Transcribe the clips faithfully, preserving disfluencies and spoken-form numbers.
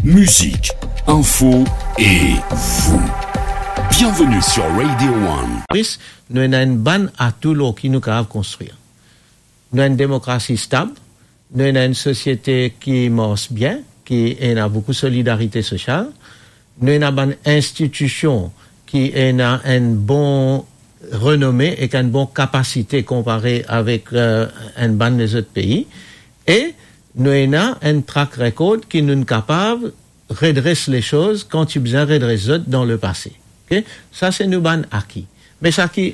Musique, info et vous. Bienvenue sur Radio One. Moris, nou ena enn bann atou lor ki nou kapav konstrir. Nou ena enn demokrasi stab, nou ena enn sosiete ki mars bien, ki ena boukou solidarite sosial, nou ena bann institision ki ena enn bon renome ek enn bon kapasite konpare avek, eh, enn bann lezot pei, e nou ena enn track record ki nou kapav redres lesoz kan ti bizin redres zot dan lepase. Ok? Sa se nou bann aki. Me sa ki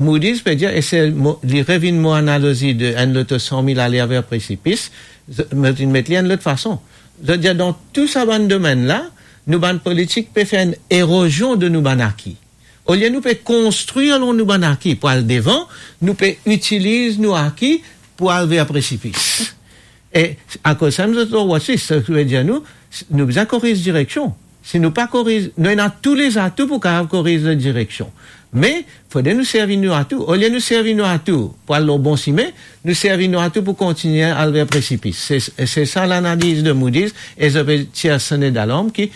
Moody's pe dir, e se mo, li revinn mo analozi de enn loto san mil ale aver presipis, z-, mo finn met li enn lot fason. Zot dir, dan tou sa bann domenn la, nou bann politik pe fer enn erozion de nou bann aki. Olie nou pe konstrir lor nou bann aki pou al devan, nou pe itiliz nou aki pou al ver presipis. E akoz sa, nou zot lor watchlist, sa ki ve dir nou, nou bizin koriz direksion. Si nou pa koriz, nou ena tou lezatou pou kapav koriz zot direksion. Me, fode nou servi nou atou. Olie nou servi nou atou pou al lor bon sime, nou servi nou atou pou kontigne al ver presipis. Se, se sa lanaliz de Moody's e zot pe tir sone dalarm ki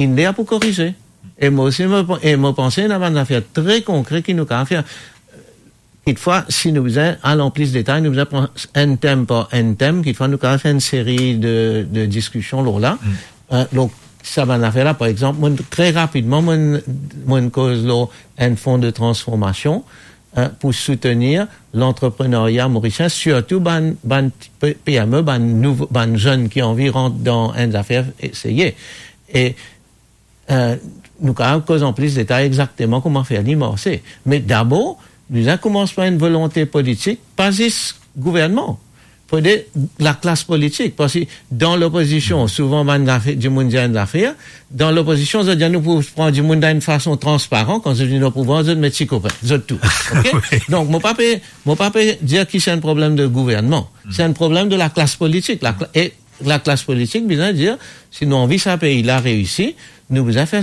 inn ler pou korize. E mo osi, mo, e mo panse ena bann zafer tre konkre ki nou kapav fer. Kitfwa, si nou bizin al an plis detay, nou bizin pran enn tem par enn tem. Kitfwa, nou kapav fer enn seri de, de diskision lor la. Mm. Eh, donk, sa bann zafer la, par exanp, mo, tre rapidman, mo, mo koz lor enn fon de transformasion, eh, pou soutenir lantreprenerya morisien, sirtou bann, bann ti pe-, P M E, bann nouvo, bann zenn ki anvi rant dan enn zafer, eseye. E eh, nou kapav koz an plis detay exakteman kouma fer li marse. Me dabor, bizin koumans par enn volonte politik, pa zis gouvernman. Fode laklas politik, parski dan lopozision, souvan bann zafer, dimoun dir enn zafer, dan lopozision, zot dir nou pou pran dimoun dan enn fason transparan, kan zot vinn o pouvwar, zot met ti kopin, zot tou. Ok? Wi. Donk, mo pa pe, mo pa pe dir ki se enn problem de gouvernman. Se enn problem de laklas politik. Lakla-, e laklas politik bizin dir, si nou anvi sa pei la reisi, nou bizin fer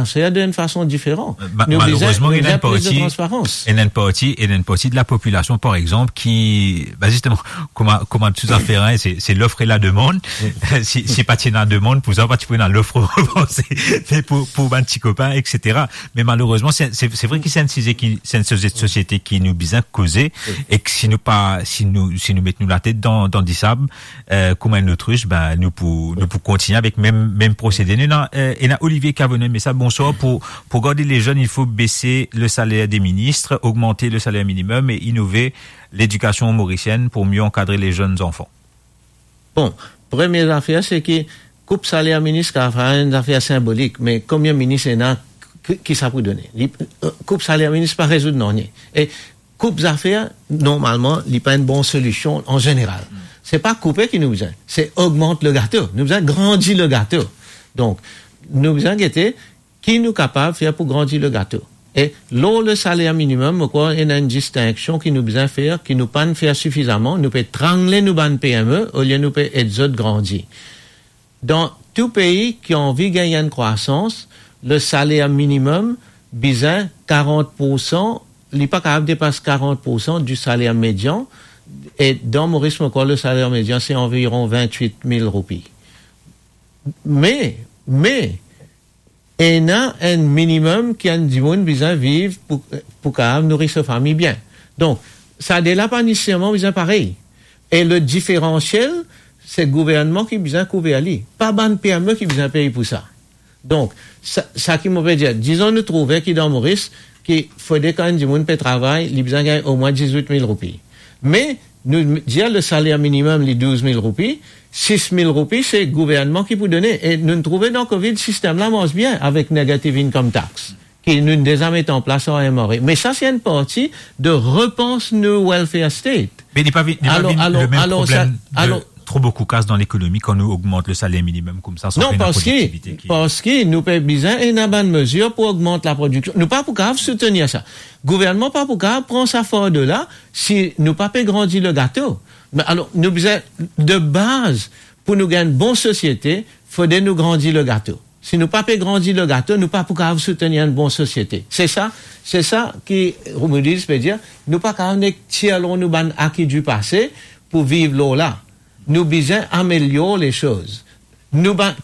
sa de enn fason diferan. Eh, ma-, nou bizin, malerezman, nou bizin plis de transparans. Ena enn parti, ena enn parti de lapopilasion, par exanp, ki, ba, zisteman, kouma, kouma tou zafer, hein, se, se lof e lademann. Si, si pa ti ena demann, pou sa, pa ti pou ena lof, me pou, pou bann ti kopin, et cetera. Me malerezman, se, se, se vre ki se enn size ki, se enn size de sosiete ki nou bizin koze, e ki si nou pa, si nou, si nou met nou latet dan, dan disab, eh, kouma enn otrich, ben, nou pou, nou pou kontigne avek mem, mem prosede. Nou ena, eh, ena Olivier Cavonnet, me sa, bonswar, pou, pou gard lezenn, il faut baisser le salaire des ministres, augmenter le salaire minimum et innover l'éducation mauricienne pour mieux encadrer les jeunes enfants. Bon, premie zafer, se ki koup saler minis kapav enn zafer sinbolik, me konbien minis ena, ki, ki sa pou done? Li, eh, koup saler minis pa rezoud nanye. E koup zafer, normalman, li pa enn bon solision an zeneral. Se pa koupe ki nou bizin, se ogmant le gato. Nou bizin grandi le gato. Donk, nou bizin gete ki nou kapav fer pou grandi le gato. E lor le saler minimum, mo krwar ena enn distinksion ki nou bizin fer, ki nou pa'nn fer sifizaman. Nou pe trangle nou bann P M E olie nou pe ed zot grandi. Dan tou pei ki anvi gagn enn krwasans, le saler minimum bizin karant poursan, li pa kapav depas karant poursan du salaire médian, e dan Moris, mo krwar le saler median se anviron vintwit mil roupi. Me, me, ena enn minimum ki enn dimoun bizin viv pou, pou kapav nouri so fami bien. Donk, sa de la pa neseserman bizin parey. E le diferansiel, se gouvernman ki bizin kouver li, pa bann P M E ki bizin pey pou sa. Donk, sa, sa ki mo pe dir, dizon nou trouve ki dan Moris, ki fode kan enn dimoun pe travay, li bizin gagn omwin dizwit mil roupi. Me, nou dir le saler minimum, li douz mil roupi, sis mil roupi, se gouvernman ki pou done. E nou trouve dan covid, sistem la mars bien avek negative income tax, ki nou deza met an plas ar M R A. Me sa, se enn parti de repans nou welfare state. Me li pa vi-, li pa vinn le mem problem de tro boukou kas dan lekonomi kan nou ogmant le saler minimum koumsa, san pena prodiktivite ki... Non, parski, parski nou pe bizin ena bann mezir pou ogmant laprodiksion. Nou pa pou kapav soutenir sa. Gouvernman pa pou kapav pran sa fardo la si nou pa pe grandi le gato. Me alor, nou bizin, de baz, pou nou gagn bon sosiete, fode nou grandi le gato. Si nou pa pe grandi le gato, nou pa pou kapav soutenir enn bon sosiete. Se sa, se sa ki Moody's pe dir, nou pa kapav nek tir lor nou bann aki di pase pou viv lor la. Nou bizin amelior lesoz. Nou bann,